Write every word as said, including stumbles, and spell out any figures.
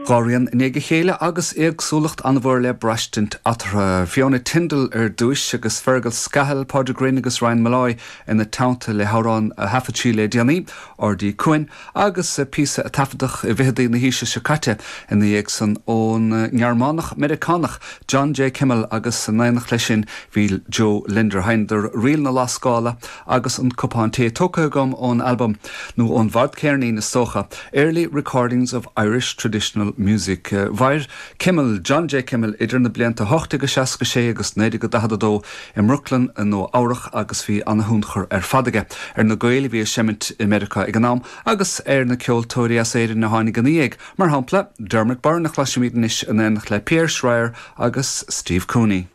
Dhá rian i ndiaidh a chéile agus éagsúlacht an-mhór le braistint eatarthu. Fiona Tyndall ar dtús agus Fergal Scahill, Pádraig Rynne agus Ryan Molloy ina teannta le hamhrán a thaifead sí le déanaí, Ardí Cuain, agus píosa a taifeadadh i bhfichidí na haoise seo caite ina dhiaidh san ón nGearmánach Meiriceánach John J. Kimmel agus in éineacht leis sin bhí Joe Linder. Sheinneadar Ríl na Lascála agus an cupán tae tógtha agam ón album nó ón bhfadcheirnín is dócha, Early Recordings of Irish Traditional Music. Mhair Kimmel John J. Kimmel idir na blianta ocht déag seasca sé agus naoi déag daichead a dó i mBrooklyn i Nua Eabhrac agus bhí an-tionchar ar fad aige ar na Gaeil a bhí ag seimint i Meiriceá ag an am agus ar na ceoltóirí as Éirinn a tháinig ina dhiaidh, mar shampla Dermot Byrne a chloisimid anois in éineacht le Pierre Schreier agus Steve Cooney.